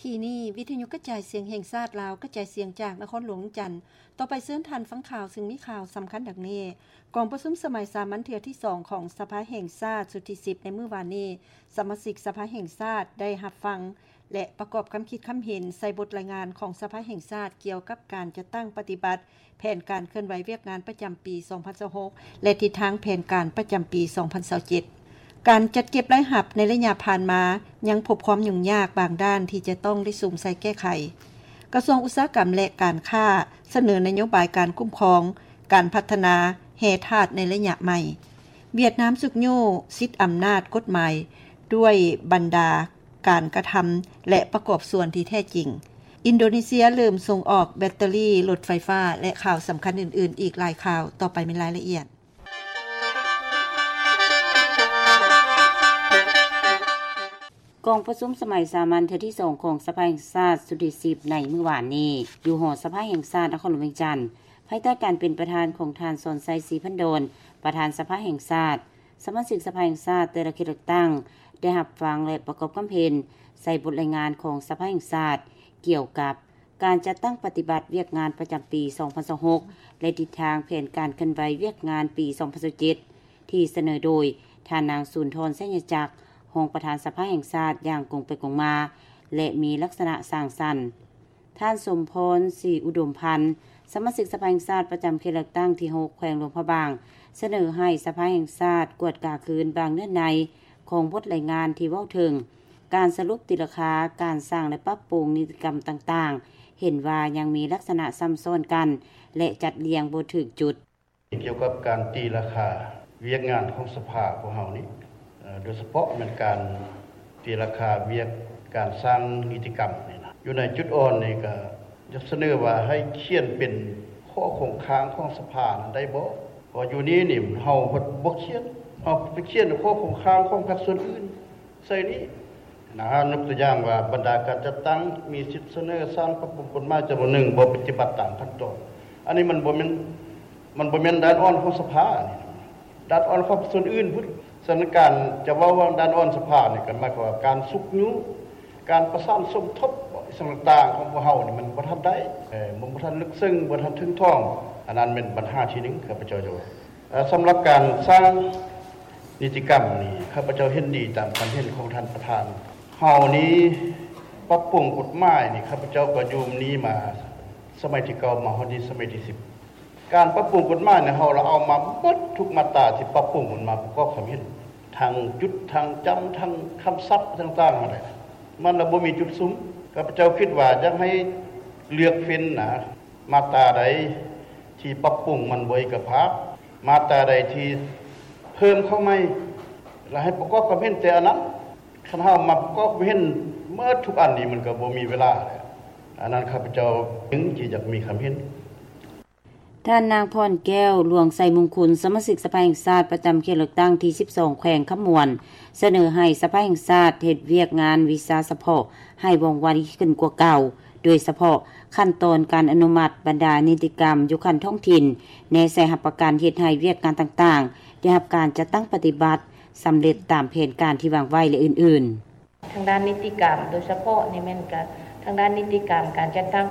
ປີນີ້ ວິທະຍຸກະຈາຍສຽງແຫ່ງຊາດລາວ ກະຈາຍສຽງຈາກນະຄອນຫຼວງວຽງຈັນ. ຕໍ່ໄປເຊີນທ່ານຟັງຂ່າວ ຊຶ່ງມີຂ່າວສຳຄັນດັ່ງນີ້: ກອງປະຊຸມສະໄໝສາມັນເທື່ອທີສອງຂອງສະພາແຫ່ງຊາດຊຸດທີສິບ ໃນມື້ວານນີ້ ສະມາຊິກສະພາແຫ່ງຊາດໄດ້ຮັບຟັງ ແລະ ປະກອບຄຳຄິດຄຳເຫັນໃສ່ບົດລາຍງານຂອງສະພາແຫ່ງຊາດ ກ່ຽວກັບການຈັດຕັ້ງປະຕິບັດແຜນການເຄື່ອນໄຫວວຽກງານປະຈຳປີສອງພັນຊາວຫົກ ແລະ ທິດທາງແຜນການປະຈຳປີສອງພັນຊາວເຈັດ. ການຈັດເກັບລາຍຮັບໃນໄລຍະຜ່ານມາ ຍັງພົບຄວາມຫຍຸ້ງຍາກບາງດ້ານທີ່ຈະຕ້ອງໄດ້ສຸມໃສ່ແກ້ໄຂ. ກະຊວງອຸດສາຫະກຳ ແລະ ການຄ້າ ສະເໜີນະໂຍບາຍການຄຸ້ມຄອງການພັດທະນາແຮ່ທາດໃນໄລຍະໃໝ່. ຫວຽດນາມຊຸກຍູ້ສິດອຳນາດກົດໝາຍດ້ວຍບັນດາການກະທຳ ແລະ ປະກອບສ່ວນທີ່ແທ້ຈິງ. ອິນໂດເນເຊຍເລີ່ມສົ່ງອອກແບັດເຕີຣີລົດໄຟຟ້າ ແລະ ຂ່າວສຳຄັນອື່ນໆອີກຫຼາຍຂ່າວ. ຕໍ່ໄປແມ່ນລາຍລະອຽດ. ກອງປະຊຸມສະໄໝສາມັນເທື່ອທີສອງຂອງສະພາແຫ່ງຊາດຊຸດທີສິບ ໃນມື້ວານນີ້ ຢູ່ຫໍສະພາແຫ່ງຊາດນະຄອນຫຼວງວຽງຈັນ ພາຍໃຕ້ການເປັນປະທານຂອງທ່ານ ສອນໄຊ ສີພັນດອນ ປະທານສະພາແຫ່ງຊາດ, ສະມາຊິກສະພາແຫ່ງຊາດແຕ່ລະເຂດເລືອກຕັ້ງ ໄດ້ຮັບຟັງ ແລະ ປະກອບຄຳເຫັນໃສ່ບົດລາຍງານຂອງສະພາແຫ່ງຊາດ ກ່ຽວກັບ ການຈັດຕັ້ງປະຕິບັດວຽກງານປະຈຳປີສອງພັນຊາວຫົກ ແລະ ທິດທາງແຜນການເຄື່ອນໄຫວວຽກງານປີສອງພັນຊາວເຈັດ ທີ່ສະເໜີໂດຍທ່ານນາງ ສູນທອນ ໄຊຍະຈັກ ຮອງປະທານສະພາແຫ່ງຊາດ ຢ່າງກົງໄປກົງມາ ແລະ ມີລັກສະນະສ້າງສັນ. ທ່ານ ສົມພອນ ສີອຸດົມພັນ ສະມາຊິກສະພາແຫ່ງຊາດປະຈຳເຂດເລືອກຕັ້ງທີຫົກ ແຂວງຫຼວງພະບາງ ສະເໜີໃຫ້ສະພາແຫ່ງຊາດກວດກາຄືນບາງເນື້ອໃນຂອງບົດລາຍງານທີ່ເວົ້າເຖິງ ການສະຫຼຸບຕີລາຄາ, ການສ້າງ ແລະ ປັບປຸງນິຕິກຳຕ່າງໆ ເຫັນວ່າຍັງມີລັກສະນະຊ້ຳຊ້ອນກັນ ແລະ ຈັດລຽງບໍ່ຖືກຈຸດ. ກ່ຽວກັບການຕີລາຄາວຽກງານຂອງສະພາພວກເຮົານີ້ ເອີ ໂດຍສະເພາະແມ່ນການຕີລາຄາວຽກການສ້າງນິຕິກຳນີ້ນະ ຢູ່ໃນຈຸດອ່ອນນີ້ກະຢາກສະເໜີວ່າໃຫ້ຂຽນເປັນຂໍ້ຄົງຄ້າງຂອງສະພານັ້ນໄດ້ບໍ່? ເພາະຢູ່ນີ້ນີ້ເຮົາບໍ່ຂຽນ ເຮົາໄປຂຽນຂໍ້ຄົງຄ້າງຂອງພາກສ່ວນອື່ນ ໃສ່ນີ້ນະ. ຍົກຕົວຢ່າງວ່າ ບັນດາການຈັດຕັ້ງມີສິດສະເໜີສ້າງປັບປຸງກົດໝາຍຈຳນວນໜຶ່ງ ບໍ່ປະຕິບັດຕາມຂັ້ນຕອນ. ອັນນີ້ມັນບໍ່ແມ່ນ ມັນບໍ່ແມ່ນດ້ານອ່ອນຂອງສະພານີ້ ດ້ານອ່ອນຂອງສ່ວນອື່ນພຸ້ນ. ສະນັ້ນ ການຈະເວົ້າວ່າດ້ານອ່ອນສະພານີ້ ກໍໝາຍຄວາມວ່າການຊຸກຍູ້ ການປະສານສົມທົບ ອີ່ຫຍັງຕ່າງໆຂອງພວກເຮົານີ້ ມັນບໍ່ທັນໄດ້ ເອີ ມັນບໍ່ທັນເລິກເຊິ່ງ ບໍ່ທັນເຖິງຖອງ. ອັນນັ້ນແມ່ນບັນຫາທີໜຶ່ງ ຂ້າພະເຈົ້າຈະເວົ້າ. ເອີ ສຳລັບການສ້າງນິຕິກຳນີ້ ຂ້າພະເຈົ້າເຫັນດີຕາມຄຳເຫັນຂອງທ່ານປະທານ. ເຮົານີ້ປັບປຸງກົດໝາຍນີ້ ຂ້າພະເຈົ້າກໍຢູ່ນີ້ມາສະໄໝທີເກົ້າ ມາຮອດນີ້ສະໄໝທີສິບ. ການປັບປຸງກົດໝາຍນີ້ ເຮົາລະເອົາມາເບິດທຸກມາດຕາທີ່ປັບປຸງມັນມາປະກອບຄວາມເຫັນ ທັງຈຸດ ທັງຈຳ ທັງຄຳສັບຕ່າງໆຫັ້ນແຫຼະ ມັນລະບໍ່ມີຈຸດສຸມ. ຂ້າພະເຈົ້າຄິດວ່າຢາກໃຫ້ເລືອກເຟັນນະ ມາດຕາໃດທີ່ປັບປຸງມັນບໍ່ເອກະພາບ ມາດຕາໃດທີ່ເພີ່ມເຂົ້າໃໝ່ ລະໃຫ້ປະກອບຄວາມເຫັນແຕ່ອັນນັ້ນ. ຄັນເຮົາມາປະກອບຄວາມເຫັນເໝິດທຸກອັນນີ້ ມັນກໍບໍ່ມີເວລາແຫຼະ. ອັນນັ້ນຂ້າພະເຈົ້າຈຶ່ງຊິຢາກມີຄຳເຫັນ. ທ່ານນາງ ພອນແກ້ວ ຫຼວງໄຊມຸງຄຸນ ສະມາຊິກສະພາແຫ່ງຊາດປະຈຳເຂດເລືອກຕັ້ງທີສິບສອງ ແຂວງຄຳມ່ວນ ສະເໜີໃຫ້ສະພາແຫ່ງຊາດເຮັດວຽກງານວິຊາສະເພາະໃຫ້ວ່ອງໄວຂຶ້ນກວ່າເກົ່າ, ໂດຍສະເພາະຂັ້ນຕອນການອະນຸມັດບັນດານິຕິກຳຢູ່ຂັ້ນທ້ອງຖິ່ນ, ແນໃສ່ຮັບປະກັນເຮັດໃຫ້ວຽກງານຕ່າງໆໄດ້ຮັບການຈັດຕັ້ງປະຕິບັດສຳເລັດຕາມແຜນການທີ່ວາງໄວ້ ແລະ ອື່ນໆ. ທາງດ້ານນິຕິກຳ ໂດຍສະເພາະນີ້ແມ່ນກະທາງດ້ານນິຕິກຳ ການຈັດຕັ້ງ